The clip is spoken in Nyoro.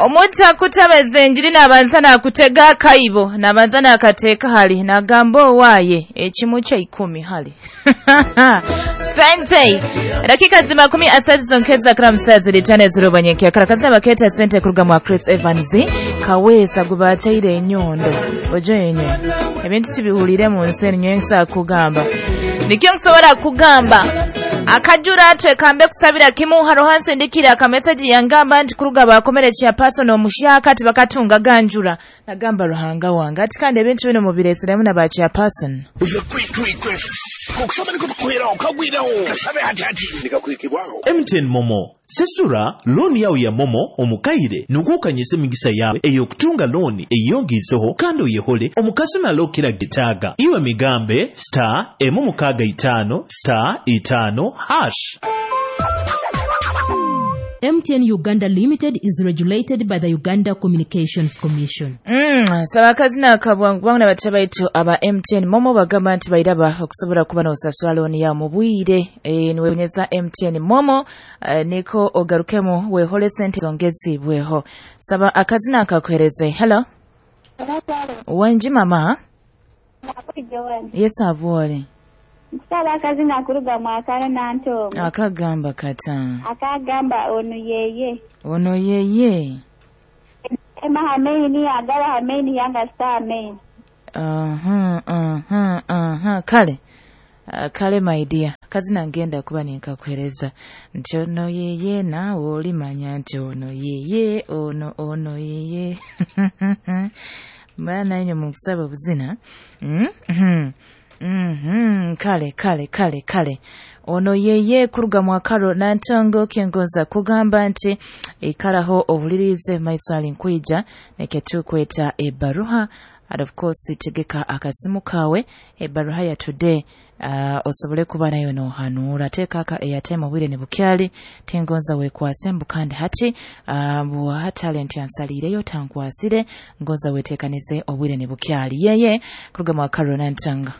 Omuntu akutabeza enjiri nabanza nakutega akaibo, nabanza nakateeka hali, nagamba owaaye ekimu kya 10 hali. Sente. Dakika zima 13 zonkeza kila msazi litane zirobanyekya karakaza baketa sente kuruga mwa Chris Evans kawesa gubachaire enyondo ojo yenye ebintu tibihulire mu nsi enyo kugamba nikyo nsobola kugamba akajura twekambe kusabira kimu harohanse ndikira aka message yangamba nti kuruga bakomere cha person omushaka ati bakatunga ganjura nagamba Ruhanga wange ati kandi ebintu bino mubiresiremu na ba cha person MTN Momo sesura looni yawe ya Momo omukaire nugukanyise emigisa yawe eyokutunga looni eyongiiseho kandi oyehole omukasumi alokera getaaga iwe migambe star 6 star 5 hash. MTN Uganda Limited is regulated by the Uganda Communications Commission. Sabakazi na kabwangu na batabaitu aba MTN Momo bagamba nti bairaba okusobola kuba n'osasula looni ya mubwire niwenyeza MTN Momo niko ogarukemu wehole sente zongezibweho. Saba akazina akakuhereze. Hello. Wanji mama. Yes abwole. Nsaba akazina kuruga mwakalo nantongo. Akagamba kata. Akagamba ono yeye. Ono yeye. Ema hameni agala hameni yanga star main. Kale. Kale my dear. Kazina ngenda kuba ninkakuhereza. Nti ono yeye na olimanya nti ono yeye ono ono yeye. Mwana yenye mukusaba buzina. Kale. Ono yeye kuruga mwakaro nantongo kengonza kugamba nti ikaraho obulirize maiswali nkwija neketukweta ebaruha and of course tegeka akasimu kawe ebaruha ya today osobole kuba nayo nohanura teka aka airtime obwire ne bukyali tengonza wekwase mbu kandi hati buha talent yansalireyo tankwasire ngonza wetekanize obwire ne bukyali yeye kuruga mwakaro nantongo.